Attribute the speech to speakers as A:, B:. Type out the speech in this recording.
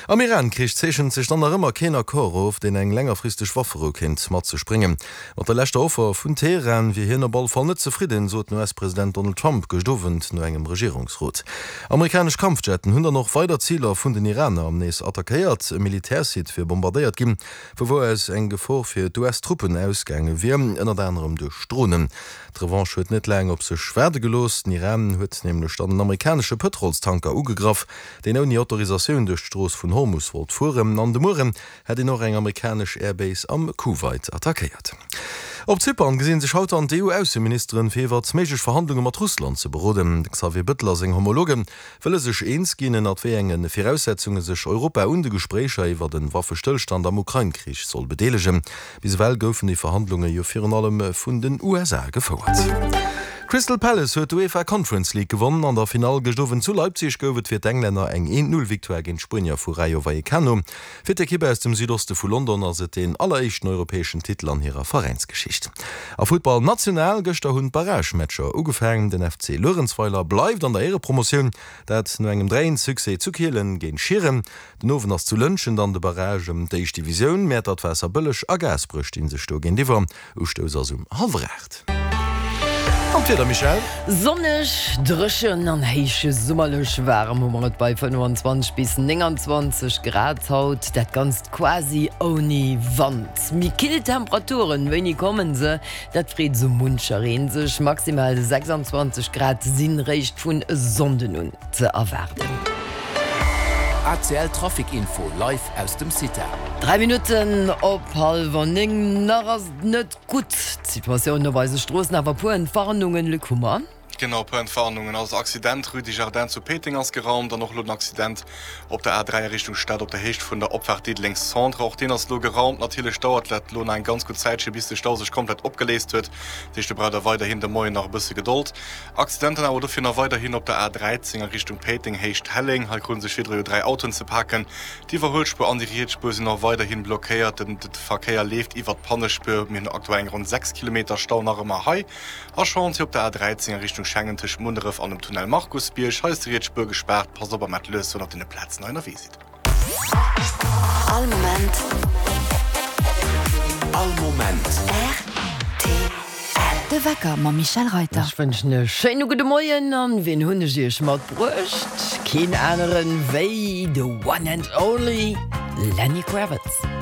A: Am Iran-Krich zeechent sech dann nach ëmmer keen Accord of, deen eng längerfristeg Wafferou kéint mat sech bréngen. Mat der leschter Offer vun Teheran wier hien op alle Fall net zefridden, sot den US-President Donald Trump gëscht Owend no engem Regierungsrot. Amerikanesch Kampfjetten hunn dann och weider Ziler vun den Iraner am nees attackéiert. E Militärsite wier bombardéiert ginn, vu wou aus eng Gefor fir d'US-Truppen ausgaange wier, ënnert anerem duerch Dronen. D'Revanche huet net laang op sech waarde gelooss. Den Iran huet nämlech dann en amerikanesche Pëtrolstanker ugegraff, deen ouni Autorisatioun duerch d'Strooss vun Hormus wollt fueren. An de Mueren hätt een och eng amerikanesch Airbase am Kuwait attackéiert. Op Zypern gesi sech haut dann d'EU-Ausseministeren, fir iwwert méiglech Verhandlunge mat Russland ze beroden. De Xavier Bëttel a seng Homologe wëlle sech eens ginn, ënnert wéi enge Viraussetzunge sech Europa un de Gespréicher iwwert e Waffestëllstand am Ukrain-Krich soll bedeelegen. Bis ewell goufen déi Verhandlunge jo virun allem vun den USA gefouert. Crystal Palace huet d'UEFA Conference League gewonn. An der Finall gëscht Owend zu Leipzig gouf et fir d'Englänner eng Eent-Null-Victoire géint d'Spuenier vu Rayo Vallecano. Fir d'Ekipp aus dem Südoste vu London ass et deen alleréischten europäeschen Titel an hirer Veräinsgeschicht. A Futtball national, Gëschter hunn d'Barragematcher ugefaangen. Den FC Luerenzweiler bleift an der Éierepromotioun, dat no engem 3, 1 Succès zu Kielen géint Schieren. Den Owend ass zu Lëntgen dann de Barrage ëm d'éischt Divisioun. Mäertert, Waasserbëlleg a Gaasperech sti sech do géintiwwer. Ustouss ass um hallwer 8. An d'Wieder, Michèle?
B: Sonneg, dréchen an héich summerlech waarem hu mer et bei 25 bis 29 Grad haut, dat Ganzt quasi ouni Wand. Méi kill Temperaturen, wéini kommen se? Dat freet esou muncher een sech. Maximal 26 Grad sinn réischt vun e Sonnden un ze erwaarden.
C: ACL Trafic Info live aus dem CITA.
B: 3 Minutten op hallwer 9, nach ass et net gutt d'Situatioun op eise Stroossen, awer puer Entwarnungen, Luc Hummer.
D: Genau, puer Entwarnungen. Also Accident Rue des Jardins zu Péiteng ass geraumt an och elo den Accident op der A3 a Richtung Stad op der Héicht vun der Opfaart Diddeleng Centre. Och deen ass elo geraumt. Natierlech dauert dat elo nach eng ganz gutt Zäitche bis de Stau sech komplett opgeléist huet. Dat heescht do braucht der weiderhin de Moien nach e bësse Gedold. Accidenten awer dofir nach weiderhin op der A 13 a Richtung Péiteng, Héicht Helleng. Hei krute sech virdru jo 3 Autoen ze paken. D'Iwwerhuelspuer an déi riets Spuer sinn och weiderhin blockéiert. Den Verkéier leeft iwwert d'Pannespuer. Mir hunn aktuell eng ronn 6 Kilometer Stau nach ëmmer hei. A Chantier op der A 13 a Richtung Schengen tëscht Munneref an dem Tunnel Markusbierg. Hei ass déi riets Spuer gespaart. Passt op a maacht lues, wann der op deene Plazen hei ënnerwee sidd.
E: All Moment.
C: All Moment.
E: Rtl. De Wecker mam Michèle Reyter.
B: Ech wënschen e schéine gudde Moien an wien hunn ech iech matbruecht? Keen aneren wéi the one and only Lenny Kravitz.